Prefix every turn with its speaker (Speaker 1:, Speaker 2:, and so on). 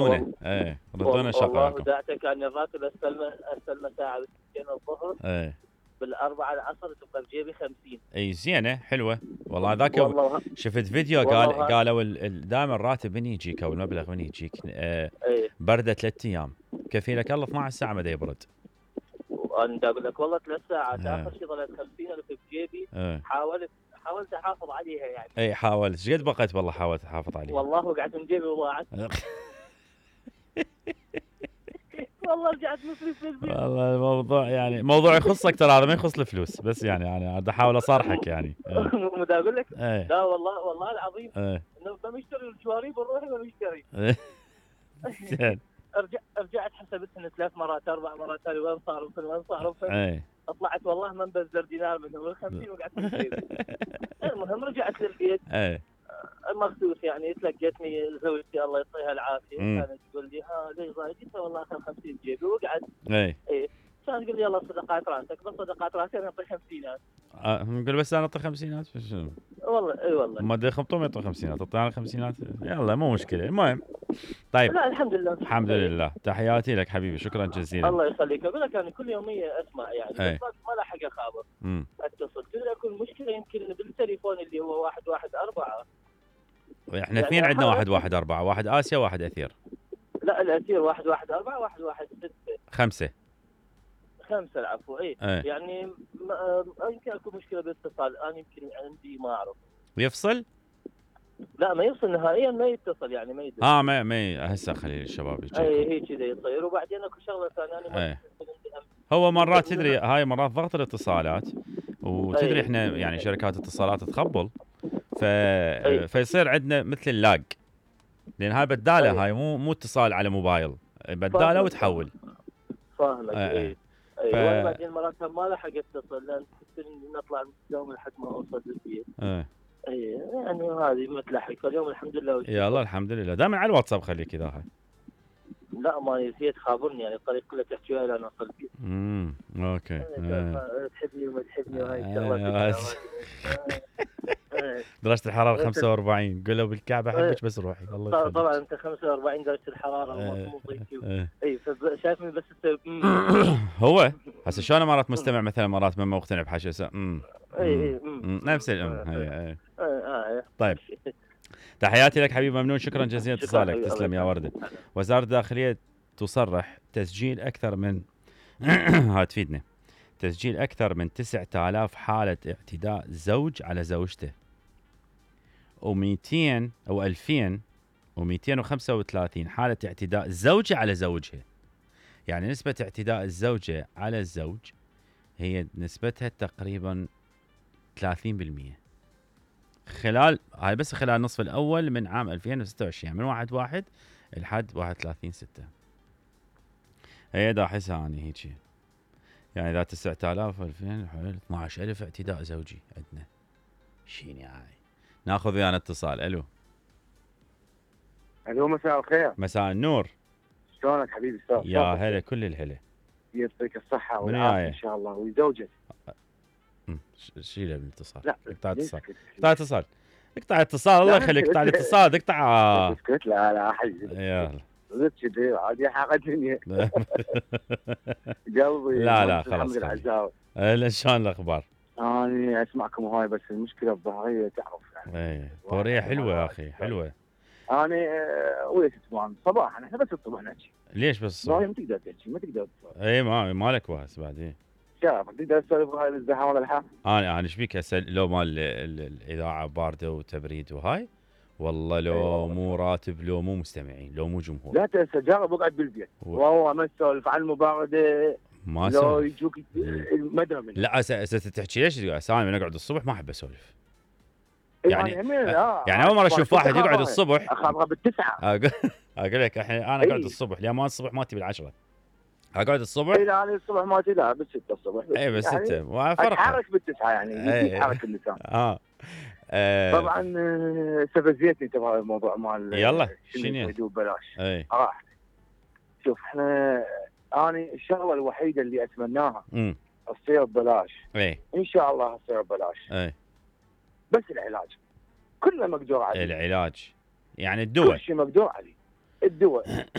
Speaker 1: ايه ردونا
Speaker 2: والله
Speaker 1: شغالكم.
Speaker 2: دعته كان الراتب استلمه ساعه بالساعتين الظهر
Speaker 1: ايه
Speaker 2: بالاربعه العصر تبقى بجيبي 50.
Speaker 1: اي زينه حلوه والله. ذاك
Speaker 2: والله
Speaker 1: شفت فيديو قالوا دائما الراتب من يجيك او المبلغ من يجيك
Speaker 2: ايه
Speaker 1: برده 3 ايام كفيلك الله 12 ساعه ما يبرد.
Speaker 2: وانا اقول لك والله 3 ساعات اخر شيء ظلت 50,000 بجيبي. حاولت احافظ عليها يعني.
Speaker 1: اي حاولت. ايش قد بقيت والله حاولت احافظ عليها؟
Speaker 2: والله وقعت من جيبي وضاعت. والله رجعت مصري في البيت.
Speaker 1: والله الموضوع يعني موضوع يخصك ترى، هذا ما يخص الفلوس بس يعني بدي احاول اصارحك يعني.
Speaker 2: مو اقول لك لا والله العظيم انه بمشتري الجواري بنروح بمشتري.
Speaker 1: زين
Speaker 2: رجعت حسبتهن 3 مرات 4 مرات وين صاروا طلعت والله ما نبذر دينار منهم ال 50 وقعدت في البيت. المهم رجعت للبيت مخصوص يعني تلقيتني زوجتي الله يعطيها العافيه كانت تقول لي ليش ضايقت؟ والله اخذ 50 جيبي وقعد. كانت تقول لي يلا صدقات راسك بس صدقات راسي انا اعطي 50.
Speaker 1: نقول بس انا اعطي 50
Speaker 2: والله اي والله
Speaker 1: ما دي خمطهم يعطوا 50 اعطينا 50 يلا مو مشكله. المهم طيب
Speaker 2: لا الحمد لله
Speaker 1: الحمد لله. تحياتي لك حبيبي شكرا جزيلا.
Speaker 2: الله يخليك. اقول لك انا كل يوميه اسمع يعني بس ما لحق اخابر اتصل تدري اكون مشكله يمكن بالتليفون اللي هو 114.
Speaker 1: احنا اثنين عندنا 114 واحد اسيا واحد اثير.
Speaker 2: لا الاثير 114 116 5 العفو. يعني يمكن اكون مشكله بالاتصال انا يمكن عندي ما اعرف
Speaker 1: يفصل.
Speaker 2: لا ما يفصل نهائيا ما يتصل يعني ما يدري.
Speaker 1: ما هسه خلي الشباب يجيكم.
Speaker 2: هي كذا يصير. وبعدين اكو شغله ثانيه
Speaker 1: هو مرات تدري هاي مرات ضغط الاتصالات وتدري احنا يعني شركات اتصالات تخبل فيصير عندنا مثل اللاج لان هاي بداله هاي مو اتصال على موبايل بداله وتحول.
Speaker 2: فاهمك. وبعدين مرات ما لحق اتصل لان نطلع اليوم لحد ما اوصل للبيت. يعني هذه ما تلحق. فاليوم الحمد لله
Speaker 1: يا الله الحمد لله. دائما على الواتساب خليك اذا هاي.
Speaker 2: لا ما نسيت خابرني يعني الطريق كله تحكي وياي انا اوصل البيت.
Speaker 1: اوكي.
Speaker 2: تحبني وما تحبني وهاي الشغلات.
Speaker 1: درجة الحرارة 45 قولوا بالكعبة احبك بس روحي الله يخليك.
Speaker 2: طبعا انت 45 درجة الحرارة مو اي شايفني بس
Speaker 1: هو هسه شلون مرات مستمع مثلا مرات ما مقتنع بحاجة نفس طيب تحياتي لك حبيبي ممنون شكرا جزيلا اتصالك. تسلم يا وردة. وزارة الداخلية تصرح تسجيل أكثر من تفيدنا تسجيل أكثر من 9000 حالة اعتداء زوج على زوجته و200 أو 2235 حالة اعتداء زوجة على زوجها. يعني نسبة اعتداء الزوجة على الزوج هي نسبتها تقريبا 30% هاي بس خلال النصف الأول من عام 2026 من 1/1 لحد 31/6. هي دا أحسها أنا هيك يعني إذا 9000 2000 حوالي 12000 اعتداء زوجي عندنا. شيني هاي. ناخذ ويانا اتصال. الو
Speaker 3: مساء الخير.
Speaker 1: مساء النور.
Speaker 3: شلونك حبيبي؟
Speaker 1: يا هلا كل الهلا.
Speaker 3: يعطيك الصحة والعافية ان شاء الله وزوجك.
Speaker 1: شيله بالاتصال.
Speaker 3: لا
Speaker 1: اقطع اتصال الله يخليك. اقطع الاتصال اقطع.
Speaker 3: اسكت لا حبيبي
Speaker 1: يلا
Speaker 3: زدت كذي عادي حق الدنيا. قلبي
Speaker 1: لا خلاص لا شلون الاخبار؟
Speaker 3: انا اسمعكم هاي بس المشكله الظهريه تعرف يعني.
Speaker 1: الظهريه حلوه يا اخي حلوه.
Speaker 3: انا ويا ستمان صباحا احنا بس الصبح نحكي.
Speaker 1: ليش بس الصبح؟
Speaker 3: ما تقدر تحكي ما تقدر
Speaker 1: ما لك واس بعدين.
Speaker 3: شاف تقدر تسولف هاي الزحام ولا الحا؟
Speaker 1: انا ايش بيك هسه لو مال الاذاعه بارده وتبريد وهاي والله لو مو راتب لو مو مستمعين لو مو جمهور.
Speaker 3: لا تنسى جرب اقعد بالبيت والله ما تسولف عن المبارده
Speaker 1: ما
Speaker 3: لو يجوك المدرة منه.
Speaker 1: لا تحكي ليش انا من اقعد الصبح ما احب اسولف. يعني اول مره اشوف واحد يقعد الصبح
Speaker 3: اخابره بالتسعه.
Speaker 1: اقول لك انا اقعد الصبح لان ما الصبح ماتي بالعشرة اقعد الصبح.
Speaker 3: لا انا الصبح ماتي لا بالستة الصبح.
Speaker 1: اي بالستة
Speaker 3: يعني اتحرك بالتسعه يعني يتحرك اللسان. طبعا استفزيتني تبع الموضوع مال
Speaker 1: يلا
Speaker 3: شنو ببلاش. راح شوف احنا انا الشغله الوحيده اللي اتمناها تصير ببلاش. ان شاء الله تصير ببلاش. بس العلاج كله مقدور عليه.
Speaker 1: العلاج يعني الدواء
Speaker 3: كل شيء مقدور عليه. الدول